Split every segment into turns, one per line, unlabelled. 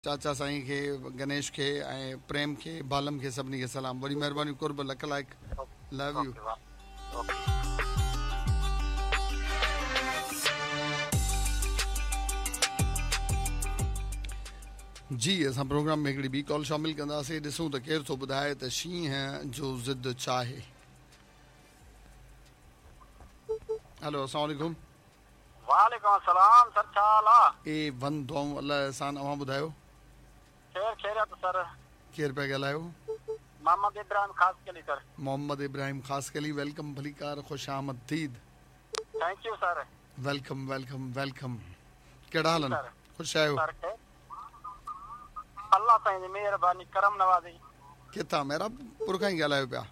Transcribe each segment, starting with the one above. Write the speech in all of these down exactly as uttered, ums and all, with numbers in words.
चाचा साईं खे, गणेश खे ऐं प्रेम खे, बालम खे, सभिनी खे सलाम। वॾी महिरबानी, कुर्ब, लख लाइक़, लव you. जी, असां प्रोग्राम में हिकिड़ी ॿी कॉल शामिल कंदासीं, ॾिसूं त केरु थो ॿुधाए त शींहं जो ज़िद छा आहे। हेलो, अस्सलाम वालेकुम।
वालेकुम अस्सलाम सर, छा हाल आहे?
ए वन दुआऊं, अलाह एहसान, अव्हां ॿुधायो?
खैर खैरियत सर।
केरु पिया ॻाल्हायो?
मोहम्मद इब्राहिम खासकेली सर।
मोहम्मद इब्राहिम खासकेली, welcome, भलीकार, ख़ुश आमदीद।
Thank you sir.
Welcome welcome welcome. कहिड़ा हाल आहिनि? ख़ुशि आहियो?
अल्लाह साईं जी मेहरबानी, करम नवाज़ी।
किथां? मेहराबपुर खां ई ॻाल्हायो पिया?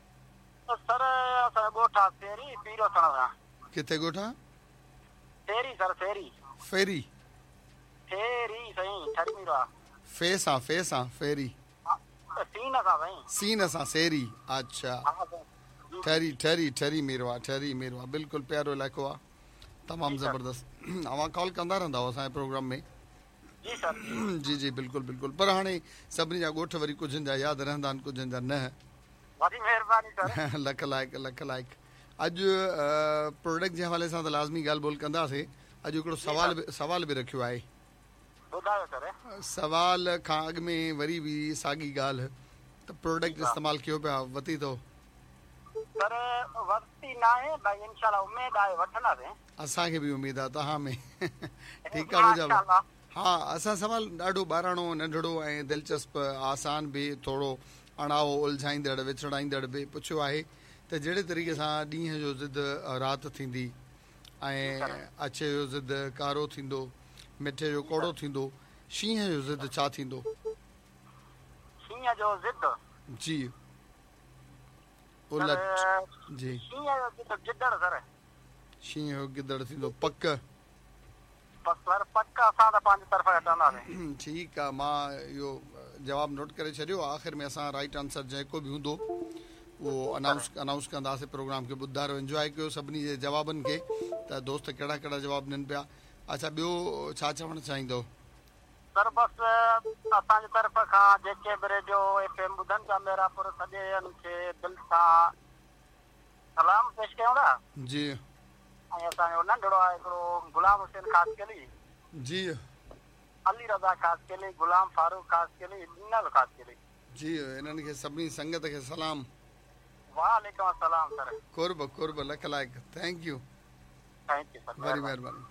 सर, असांजो ॻोठु आहे फेरी, पीरोसण सां।
किथे ॻोठु आहे?
फेरी सर, फेरी।
फेरी?
फेरी साईं, ठरी मीरो।
फे सां, फे सां, फेरी।
सीन सां साईं।
सीन सां सेरी, अच्छा। ठरी ठरी ठरी मीरो आहे, ठरी मीरो आहे, बिल्कुलु प्यारो इलाइक़ो आहे, तमामु ज़बरदस्त। अव्हां कॉल कंदा रहंदा हो असांजे प्रोग्राम में?
जी सर।
जी जी बिल्कुलु बिल्कुलु। पर हाणे सभिनी जा ॻोठ वरी कुझनि जा यादि रहंदा आहिनि, कुझनि जा न।
वॾी महिरबानी सर।
लख लाइक़, लख लाइक़। अॼु प्रोडक्ट जे हवाले सां त लाज़मी ॻाल्हि ॿोल कंदासीं। अॼु हिकिड़ो सवाल बि सवाल बि रखियो आहे।
ॿुधायो सर।
सवाल खां अॻु में वरी बि साॻी ॻाल्हि, त प्रोडक्ट इस्तेमालु कयो पिया, वरिती अथव?
सर वरिती न आहे, भाई इंशाल्लाह उमेद आहे वठंदासीं।
असांखे बि उमेद आहे तव्हां में। ठीकु आहे मुंहिंजा। हा, असां सवाल ॾाढो ॿाराणो, नंढड़ो ऐं दिलचस्प, आसान बि, थोरो अणाओ, उलझाईंदड़, विछड़ाईंदड़ बि पुछियो आहे त जहिड़े तरीक़े सां ॾींहं जो ज़िद राति थींदी ऐं अछे जो ज़िद कारो थींदो, मिठे जो कौड़ो थींदो, शींहं जो ज़िद छा थींदो?
शींहं जो ज़िद?
जी, उलट। जी,
शींहं जो ज़िद गिदड़ सर।
शींहं जो गिदड़ थींदो, पक?
सर पक, असां त पंहिंजी तरफ़ खां चवंदासीं।
ठीकु आहे, मां इहो जवाबु नोट करे छॾियो। आख़िर में असां राइट आंसर जेको बि हूंदो उहो अनाउंस अनाउंस कंदासीं। प्रोग्राम खे ॿुधायो, इंजॉय कयो सभिनी जे जवाबनि खे, त दोस्त कहिड़ा कहिड़ा जवाबु ॾियनि पिया। अच्छा, ॿियो छा चवणु चाहींदो?
सर बसि असांजी तरफ़ खां जेके बि रेडियो एफ एम ॿुधनि पिया मेहराबपुर, सॼे खे दिलि सां सलाम पेश कयूं था।
जी।
ऐं असांजो नंढड़ो आहे हिकिड़ो गुलाम हुसैन खासकेली।
जी।
अली रज़ा खासकेली, गुलाम फारूक खासकेली, ॾिनल खासकेली।
जी, इन्हनि खे सभिनी संगत खे सलाम।
वालेकुम अस्सलाम सर।
कुर्ब कुर्ब, लख लाइक़, thank you.
Thank you sir,
वॾी महिरबानी।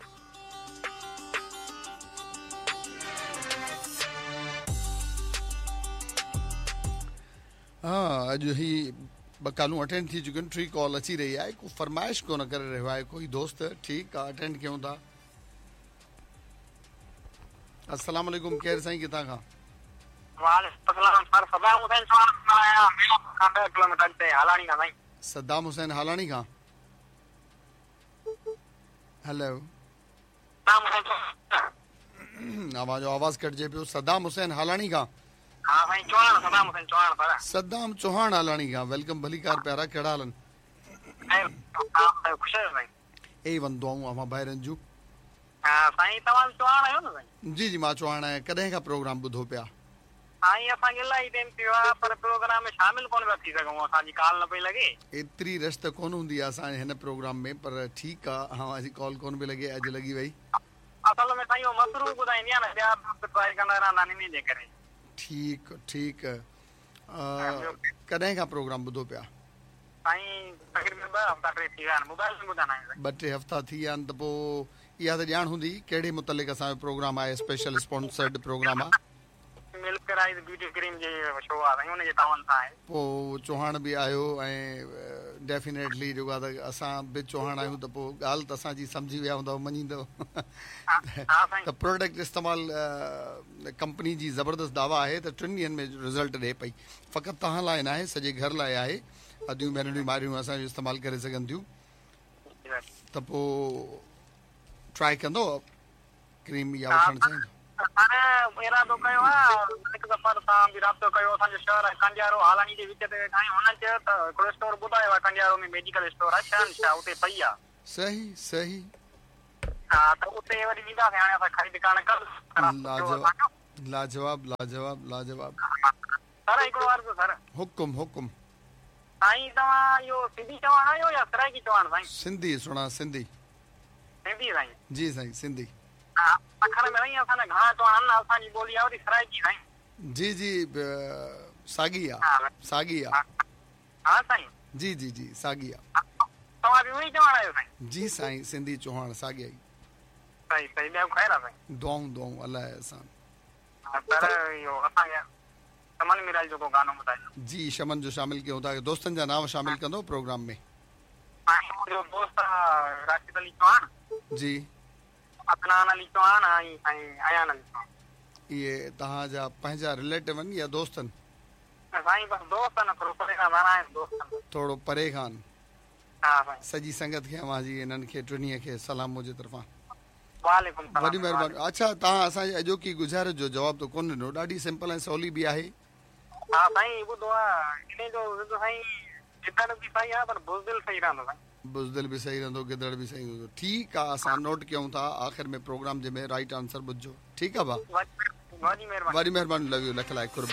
हा, अॼु ही ॿ कॉलूं अटेंड थी चुकियूं आहिनि, टी कॉल अची रही आहे, को फरमाइश कोन करे रहियो आहे कोई दोस्त। ठीकु आहे, अटेंड कयूं था। अस्सलाम वालेकुम, केरु साईं, किथां खां? सद्दाम हुसैन हालाणी खां। हेलो, आवाज़ आवाज़ कटिजे पियो। सद्दाम हुसैन हालाणी खां? सद्दाम चौहान हालाणी खां। Welcome, भलीकार प्यारा, कहिड़ा हाल आहिनि? ए वन दुआऊं अव्हां भाइरनि जूं। जी जी, मां चौहान आहियां। कॾहिं खां प्रोग्राम ॿुधो पिया?
साईं असांखे इलाही टाइम थियो आहे, पर प्रोग्राम में शामिल कोन पिया थी सघूं, असांजी कॉल न पई लॻे।
एतिरी रश त कोन हूंदी आहे असांजे हिन प्रोग्राम में, पर ठीकु आहे, अव्हांजी कॉल कोन पई लॻे, अॼु लॻी वई।
असल में साईं उहो मसरूफ़ ॿुधाईंदी आहे न, ॿिया बि ट्राई कंदा रहंदा आहिनि इन जे करे।
ठीकु ठीकु। कॾहिं खां प्रोग्राम ॿुधो पिया?
साईं तक़रीबन ॿ हफ़्ता टे थी विया आहिनि, मोबाइल में ॿुधंदा आहियूं।
ॿ टे हफ़्ता थी विया आहिनि, त पोइ इहा त ॼाण हूंदी कहिड़े मुतलिक़ असांजो प्रोग्राम आहे, स्पेशल स्पॉन्सर्ड प्रोग्राम आहे।
मिल्क राइस ब्यूटी क्रीम जे शो आहे साईं, उन जे तावन सां आहे।
पोइ चौहान बि आहियो ऐं डेफिनेटली जेको आहे त असां बि चौहान आहियूं, त पोइ ॻाल्हि त असांजी सम्झी विया हूंदव, मञींदव। त प्रोडक्ट इस्तेमालु कंपनी जी ज़बरदस्त दावा आहे त टिनि ॾींहनि में रिज़ल्ट ॾिए पई। फ़क़ति तव्हां लाइ न आहे, सॼे घर लाइ आहे। अदियूं भेनरियूं मारियूं असांजो इस्तेमालु करे सघनि थियूं। त पोइ ट्राई कंदो क्रीम इहा वठणु चाहींदो?
सर इरादो कयो आहे, हिकु दफ़ो सां बि राब्तो कयो। असांजो शहर आहे कंडियारो, हालानी जे विच ते वेठा आहियूं। हुननि चयो त हिकिड़ो स्टोर ॿुधायो आहे कंडियारो में, मेडिकल स्टोर आहे शहनशाह, उते पई आहे।
सही सही।
हा, त उते वरी वेंदासीं हाणे असां ख़रीद करणु कल्ह।
लाजवाब لاجواب لاجواب لاجواب.
سر هڪڙو عرض سر.
حڪم حڪم.
سائين توهان اهو سنڌي چوڻ آهيو يا سرائيڪي چوڻ سائين؟
سنڌي سهڻا سنڌي.
سنڌي سائين.
جي سائين سنڌي.
ها سکر ۾ سائين اسان جا گهڻا چوڻ آهن، اسان جي ٻولي آهي وري سرائيڪي سائين.
جي جي ساڳي آ ساڳي آ.
ها سائين.
جي جي جي ساڳي آ.
توهان به اهو ئي چوڻ آهيو سائين؟
جي سائين سنڌي چوهاڻ ساڳي ئي.
صحيح صحيح، ٻيو خير آ سائين؟
دعائون دعائون الله جي احسان.
سر اهو اسان کي شمن ميرالي جو ڪو گانو ٻڌايو.
جي شمن جو شامل ڪيون ٿا، دوستن جا نانءُ شامل ڪندو پروگرام ۾.
سائين منهنجو دوست آ راشد علي چوهاڻ.
جي.
عدنان علي چوهاڻ ۽ سائين ايان علي چوهاڻ.
اهي توهان جا پنهنجا رليٽو آهن يا دوست آهن؟
سائين بس دوست آهن، ٿورو پري کان وارا آهن دوست آهن.
ٿورو پري کان.
ها سائين.
سڄي سنگت کي اوهان جي انهن کي ٽنهي کي سلام منهنجي طرفان.
وعليڪم سلام.
وڏي مهرباني. اڇا توهان اسان جي اڄوڪي گذارش جو جواب ته ڪونه ڏنو، ڏاڍي سمپل ۽ سولي به آهي.
ها سائين ٻڌو آ انهي جو ضد سائين گدڙ به صحيح آ پر بزدل صحيح رهندو سائين.
بزدل به صحيح رهندو گدڙ به صحيح رهندو. ٺيڪ آ اسان نوٽ ڪيون ٿا، آخر ۾ پروگرام جي ۾ رائٽ آنسر ٻڌجو. ٺيڪ آ ڀا
وڏي مهرباني.
وڏي مهرباني، لو you, lakh لائق قرب.